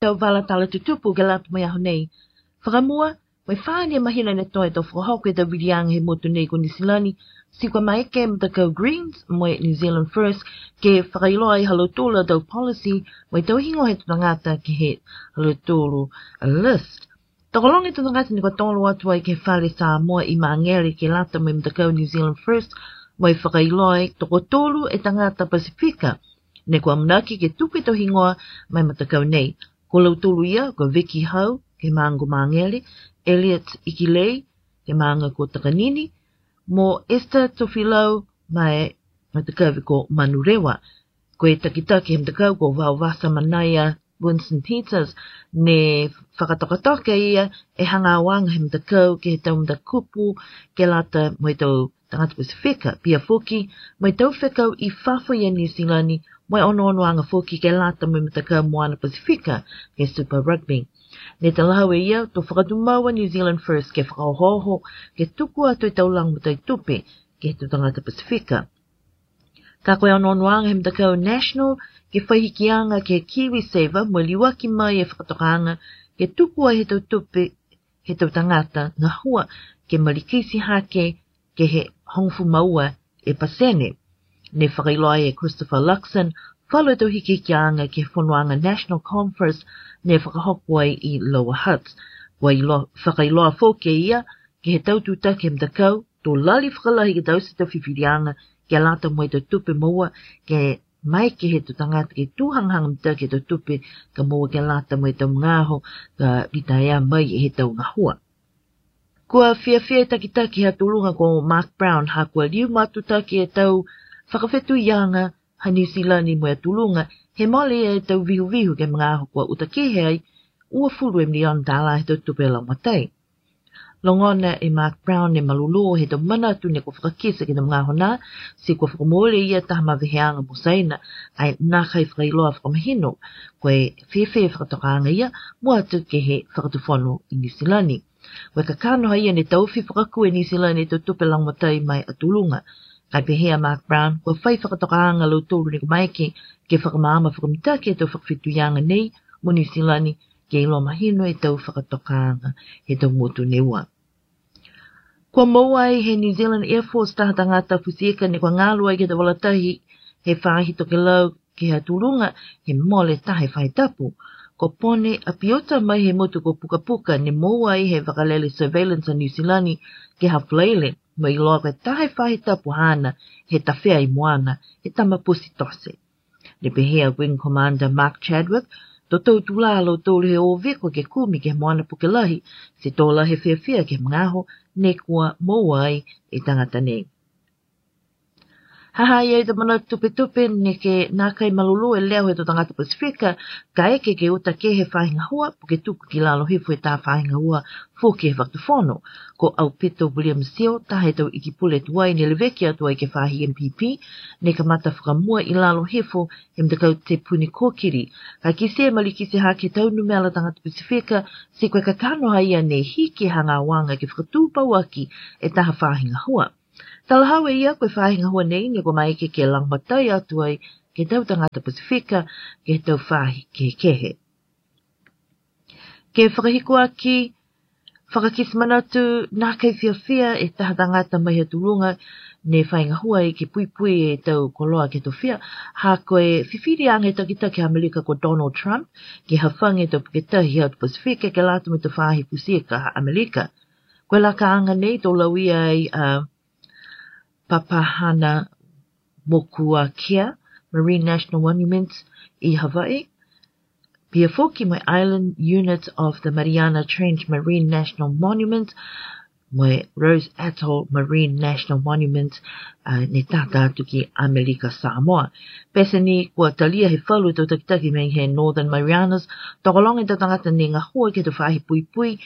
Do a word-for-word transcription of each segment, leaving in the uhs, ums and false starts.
ʻetau vala tala tutupu ke lata mo e ʻaho nei. Fakamua, mo e fā eni e māhina ne toe ʻetau fakahoko ʻetau viliʻanga he motu nei ko Nuʻu Sila ni, siʻi kua maeke e matakau Greens mo e New Zealand First ke fakailoa ai ha lautolu ʻetau policy, mo ʻetau hingoa ʻetau tangata ki he ha lautolu ʻa list. Tokolahi ʻetau tangata ne kua tolo atu ai ki he fale Samoa ʻi Māngere ke lata mo e matakau New Zealand First, mo e fakailoa ai toko tolu e tangata Pasifika ne kua ʻamanaki ke tuku ʻetau hingoa maʻa e matakau nei. Ko lautolu ia, ko Vicky Hau, ki he māʻunga ko Māngere, Elliot Ikilei, ki he māʻunga ko Takanini, mo Esther Tofilau, maʻa e matakau ko Manurewa. Ko e takitaki he matakau ko Vauvasa Manaia Winston Peters, ne fakatokatoka ia e hanga ʻo anga he matakau ki he tau matakupu ke lata mo ʻetau tangata Pasifika, pea foki mo ʻetau fekau ʻi fafo ʻi Nuʻu Sila ni, mo e ʻonoʻonoʻanga foki ke lata mo e matakau Moana Pasifika, ki he Super Rugby. Ne talahau ʻe ia, to fakatumau ʻa New Zealand First ke fakaohooho ke tuku atu ʻetau lagomatai tupe ki he tau tangata Pasifika. Ka ko e ʻonoʻonoʻanga he matakau National ke fai hikiʻanga ki he KiwiSaver mo e liuaki mai e fakatokanga ke tuku ai ʻetau tupe ʻetau tangata ngahua ke malikiti hake ki he hongofulu mā ua e pasene. Ne fakailoa ai ʻe Christopher Luxon, falu ʻetau hikihikiʻanga ki he fonuʻanga National Conference ne fakahoko ai ʻi Lower Hutt. Kua ʻilo-, fakailoa foki ʻe ia ki he tau tūtaki he matakau, to lali fakalahi ke tau ʻosi ʻetau fifiliʻanga ke lata mo ʻetau tupe moua, ke maeke he tau tangata ke tū hangahanga mitaki ʻetau tupe ka moua ke lata mo ʻetau ngaahi ʻaho ka litaea mai ʻe he tau ngahua. Kua fiefia e takitaki ha tulunga ko Mark Brown, ha kua liu matutaki ʻetau fakafetuiʻanga ha Nuʻu Sila ni mo e tulunga, he mole ʻetau vihuvihu ki he ngaahi ʻaho kua ʻuta kehe ai, uofulu e miliona tālā ʻetau tupe lagomatai. Longona ʻe Mark Brown ʻene malulu he tau manatu ne kua fakakisa ki he tau ngaahi ʻaho na, siʻi kua fakamoʻoni ia taha maveheʻanga mo Saina, ʻa ia naʻe ʻikai fakailoa fakamahino ko e fēfē e fakatokanga ia, mua atu ki he fakatufono ʻi Nuʻu Sila ni. Ko e kakano ha ia ne tauhi fakakū ʻe Nuʻu Sila ni ʻetau tupe lagomatai maʻa e tulunga. Kae pehē ʻa Mark Brown, kua fai fakatokanga lautolu ne kua maeke ke fakamaama fakamitaki ʻetau fakafetuiʻanga nei mo Nuʻu Sila ni, ke ʻilo mahino ʻetau fakatokanga he tau motu ne ua. Kua moua ai he New Zealand Air Force taha tangata fusieka ne kua ngalu ai ki he tau vala tahi he faahi tokelau ki ha tulunga he mole taha e faahi tapu. Ko Pone ʻApiota mai he motu ko Pukapuka ne moua ai he vakalele surveillance ʻa Nuʻu Sila ni ki ha Falaile, mo ʻiloa ko e taha e faahi tapu haʻana he tafea ʻi Moana, he tama pusi tote. Ne pehē ʻa Wing Commander Mark Chadwick, to tau tulā lautolu he ʻohoviko ke kumi ki he Moana Puke Lahi, siʻi tō lahi e fiefia ki he ngaahi ʻaho ne kua moua ai e tangata nei. Haʻu ai e tau manatu tupetupe ne ke naʻe ʻikai malulu e leo he tau tangata Pasifika, kae kehe ke ʻuta kehe e faahi ngahua, puke tuku ki lalo hifo e taha faahi ngahua foki he fakatufono. Ko ʻAupito William Sio, taha e tau ʻEiki Pule tuai ne leveki atu ai ki he faahi M P P, ne kamata fakamua ʻi lalo hifo he matakau Te Puni Kōkiri. Ka kisi e malikiti hake e tau numela tangata Pasifika, siʻi ko e kakano ha ia ne hiki e hanga ʻo anga ke fakatupu ʻaki e taha faahi ngahua. Talahau ʻe ia ko e faahi ngahua nei ne kua maeke ke lagomatai atu ai ki he tau tangata Pasifika ki he tau faahi kehekehe. Ke fakahikuʻaki, fakakisi manatu, naʻe ʻikai fiefia e taha tangata mai ha tulunga ne fai ngahua ai ke puipui e tau koloa ki he tofia, ha ko e fifiliʻanga he takitaki ʻAmelika ko Donald Trump ke hafanga e tau puke tahi he ʻAtu Pasifika ke lata mo e tau faahi fusieka ʻa ʻAmelika. Ko e lakaʻanga nei to lauia ai ʻa Papahānaumokuākea Marine National Monument ʻi Hawaii, pea foki mo e Island Unit of the Mariana Trench Marine National Monument, mo e Ross Atoll Marine National Monument, ʻa, ne tata atu ki ʻAmelika Samoa. Pea ʻosi ni kua talia he falu e tau takitaki mei he Northern Marianas, tokolahi e tau tangata ne ngahua ki he tau faahi puipui,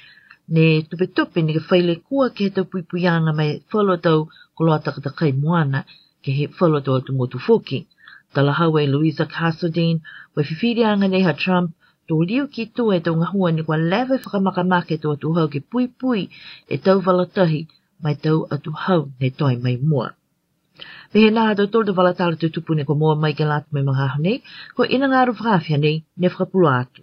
ne tupetupe ne ke fai lekua ki he tau puipuiʻanga mei he falu e tau koloa takatakai Moana, ki he falu e tau ʻatu motu foki. Talahau ʻe Louisa Castledine, ko e fifiliʻanga nei ha Trump, to liu ki tuʻa e tau ngahua ne kua lava e fakamakamaka e tau ʻatu hau ke puipui e tau vala tahi mei he tau ʻatu hau ne toe mai muʻa. Pehē nai ha tautolu e tau vala tala tutupu ne kua moua mai ke lata mo e ngaahi ʻaho nei, ko ʻInangalo Fakaʻafiha nei ne fakapuloa atu.